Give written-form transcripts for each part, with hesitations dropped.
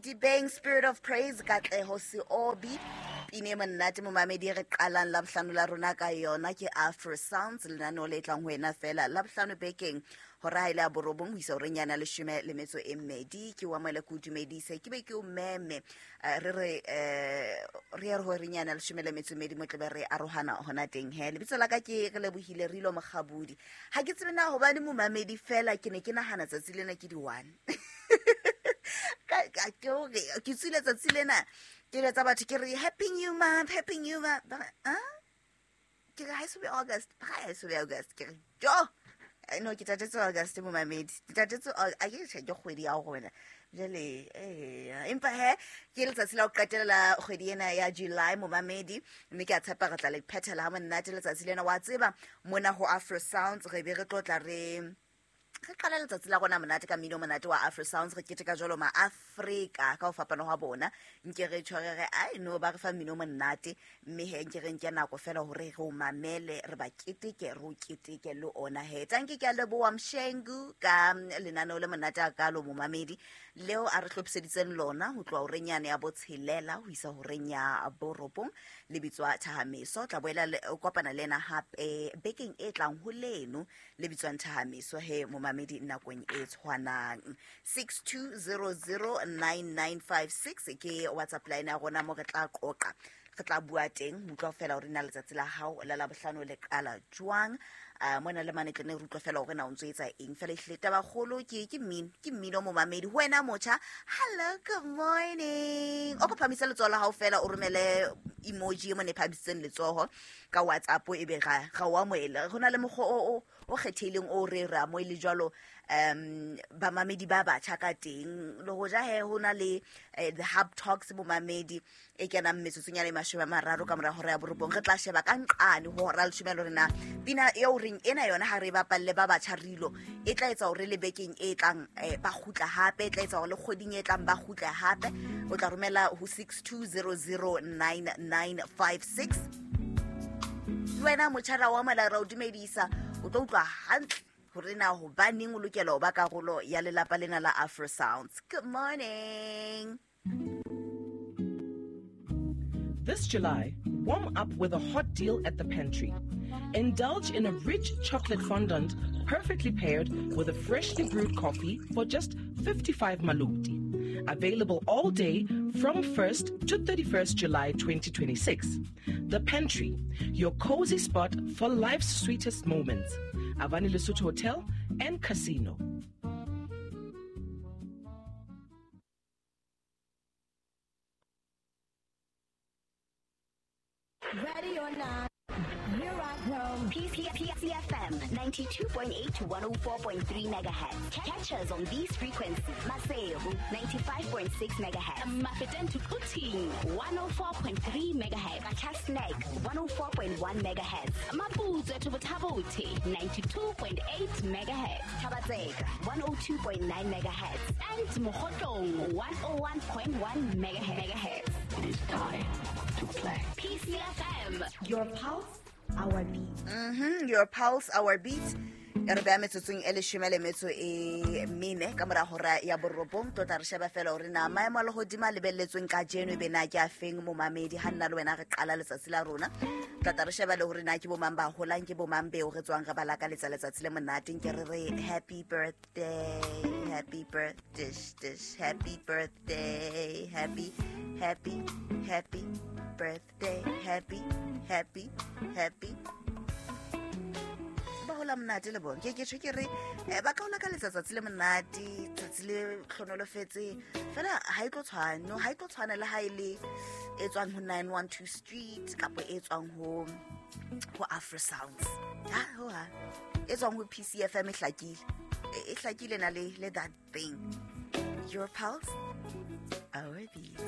Sedibeng Spirit of Praise, Katleho Seobi, pine e monate momamedi re qalang Labohlano la rona ka yona. Ke Afro Sounds, lenaneo le tlang ho wena fela Labohlano bekeng hora ha ile ya 9 ho isa horeng yana 12. Ke o amohele, ke o dumedise, ke be ke o meme. Re re re ye re horeng yana 12 mo tlebe re arohana hona teng. He, lebitso la ka ke re lebohile Rilo Mokgabudi. Ha ke tsebe na hobane momamedi fela ke ne ke nahana tsatsi lena ke di-1. Ke hore ke tswile tsatsi lena ke jwetsa batho ke re happy new month, happy new month. Ba re, ah? Ke re ha e so be August, ba re ha e so be August. Ke re jo, no, ke tatetse August momamedi, ke tatetse a ke tjhe, ke kgwedi ya rona jwale. Empa he, ke letsatsi la ho qetela la kgwedi ena ya July momamedi, mme ke a tshepa re tla le phethela ha monate letsatsi lena. Wa tseba mona ho Afro Sounds re be re tlo tla re qala letsatsi la rona monate ka mmino monate wa Afro Sounds. Re keteka jwalo ma-Afrika ka ho fapana hwa bona. Nke re tshware re ai no ba re fa mmino monate, mme he nke re nke nako fela hore re o mamele, re ba keteke, re o keteke le ona. He, tanke, ke a leboha Mshengu ka lenaneo le monate a kalo momamedi leo a re hlophiseditseng lona ho tloha horeng yane ya 6 ho isa horeng ya 9, le bitswa Thahameso. Tla boela o kopana le ena hape bekeng e tlang ho leno le bitswang Thahameso. He momamedi, nakong e tshwanang 62009956 ke WhatsApp line ya rona mo re tla qoqa, re tla bua teng ho utlwa fela hore na letsatsi la hao la Labohlano le qala jwang. Mona le mane tlene re utlwa fela hore na o ntso etsa eng fela. Ehlile tabakgolo ke mmino, ke mmino momamedi. Ho wena motjha, hello, good morning. O ko phamise letsoho la hao fela, o romele emoji e mone e phamisitseng letsoho ka WhatsApp, e be ga o amohele. Go na le mokgwa o kgethehileng o re re amohele jwalo bamamedi ba batjha ka teng. Le hoja he ho na le the Hub Talks bomamedi e kenang metsotsonyana e 30 ka mora hora ya 9, re tla sheba ka nqane ho hora 10 le hore na pina eo reng ena yona ha re e bapalle ba batjha rilo e tla etsa hore le bekeng e tlang ba kgutla hape, e tla etsa hore le kgweding e tlang ba kgutle hape. O tla romela ho 62009956. Le wena motjha ra o amohela, ra o dumedisa. O tlo utlwa hantle hore na hobaneng o lokela ho ba karolo ya lelapa lena la Afro Sounds. Good morning. This July, warm up with a hot deal at the Pantry. Indulge in a rich chocolate fondant perfectly paired with a freshly brewed coffee for just 55 maluti. Available all day from 1st to 31st July 2026. The Pantry, your cozy spot for life's sweetest moments. Avani Lesotho Hotel and Casino. Ready or not, here I come. PCFM 92.8 to 104.3 megahertz. Catch us on these frequencies. Maseru 95.6 megahertz. Mafeteng to Quthing 104.3 megahertz. Qacha's Nek 104.1 megahertz. Maputswe to Botha-Bothe 92.8 megahertz. Thaba-Tseka 102.9 megahertz. And Mokhotlong 101.1 megahertz. It is time to play. PCFM. Your pulse, our beat. Your pulse, our beat. E re beya metsotsong e 14 ka mora hora ya 9. Tlo tla re sheba fela hore na maemo a lehodimo a lebelletsweng kajeno e be na ke a feng momamedi. Ha nna le wena re qala letsatsi la rona, tla tla re sheba le hore na ke bomang ba holang, ke bomang beo re tswang re ba lakaletsa letsatsi le monate. Nke re re happy birthday, happy birthday, dish, happy birthday, happy, happy, happy birthday, happy, happy, happy. Ba hola monate le bona. Ke tjho ke re ba ka hola ka letsatsi le monate, tsatsi le hlonolofetse fela. Ha e tlo tshwana, no, ha e tlo tshwana le ha e le e tswang ho 912 Street kapa e tswang ho Afro Sounds. Ha ho ha e tswang ho PCFM e hlakile, e hlakile na le that thing. Your pulse, our beats.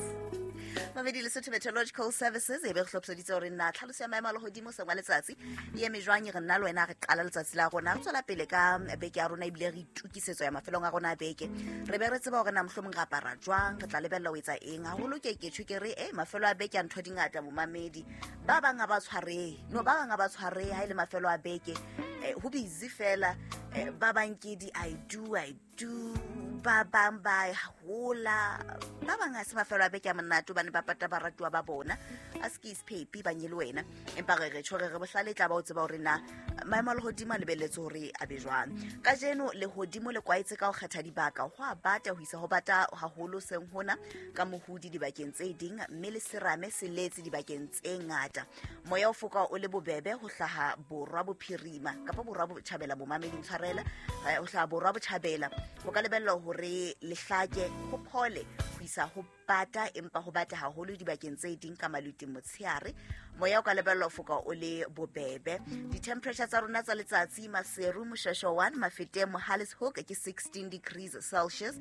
Mamedi, Lesotho Meteorological Services e be re hlophiseditse hore na tlhaloso ya maemo a lehodimo seng wa letsatsi e eme jwang. Re nna le wena re qala letsatsi la rona, re tswela pele ka beke ya rona, ebile re itokisetso ya mafelong a rona a beke. Re be re tseba hore na mohlomong re apara jwang, re tla lebella ho etsa eng haholo. Ke tjho ke re e mafelo a beke a ntho di ngata momamedi. Ba bang ha ba tshwarehe, no, ba bang ha ba tshwarehe ha e le mafelo a beke. Ho busy fela. Ba bang ke di I do I Bodutu, ba bang ba hola, ba bang ha se mafelo a beke a monate hobane ba pata baratuwa ba bona. A se ke isephepi ba nye le wena, empa re re tjho re re bohlale e tla ba o tseba hore na maemo a lehodimo a lebelletse hore a be jwang. Kajeno lehodimo le kwaetse ka ho kgetha dibaka, ho a bata ho isa ho bata haholo seng hona ka mohodi dibakeng tse ding, mme le serame se letse dibakeng tse ngata. Moya o foka o le bobebe ho hlaha borwa bophirima kapa borwa botjhabela, bomamedi ntshwarela, ho hlaha borwa botjhabela. Ho ka lebellwa hore lehlake ho phole ho isa ho bata, empa ho bata haholo dibakeng tse ding ka maluti motshehare. Moya o ka lebellwa ho foka o le bobebe. Di-temperature tsa rona tsa letsatsi: Maseru, Moshweshwe 1, Mafeteng, Mohale's Hoek ke 16 degrees Celsius,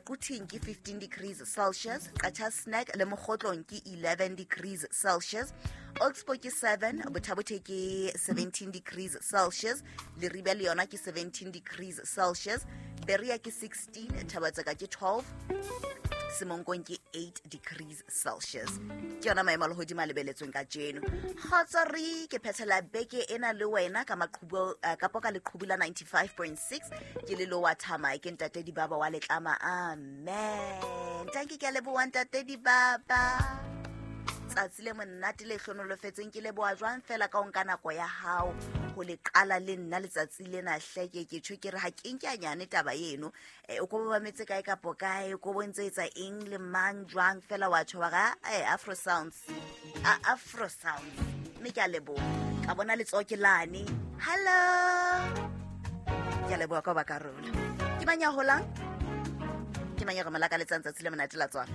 Quthing ke 15 degrees Celsius, Qacha's Nek le Mokgotlong ke 11 degrees Celsius, Oxbow ke 7, Botha-Bothe ke 17 degrees Celsius, Leribe le yona ke 17 degrees Celsius, Berea ke 16, Thaba-Tseka ke 12, Semonkong ke 8 degrees Celsius. Ke yona maemo a lehodimo a lebeletsweng kajeno. Kgotso, re ke phethela beke ena le wena ka maqhubu, kapo ka leqhubu la 95.6. Ke le lowa thama ke ntate Dibaba wa letlama. Amen. Tanki, ke a leboha ntate Dibaba. Tsatsi le monate le hlonolofetseng. Ke leboha jwang fela ka o nka nako ya hao ho le qala le nna letsatsi lena. Hleke ke tjho ke re ha ke nke a nyane taba eno. O ko mametse kae kapo kae, o ko bontse etsa eng le mang jwang fela wa tjho wa ga Afro Sounds, Afro Sounds. Mme ke a leboha ka bona letsoho ke lane. Hello, ke a leboha ka ho ba karolo. Ke mang ya holang? Ke mang ya re mo lakaletsang tsatsi le monate la tswalo?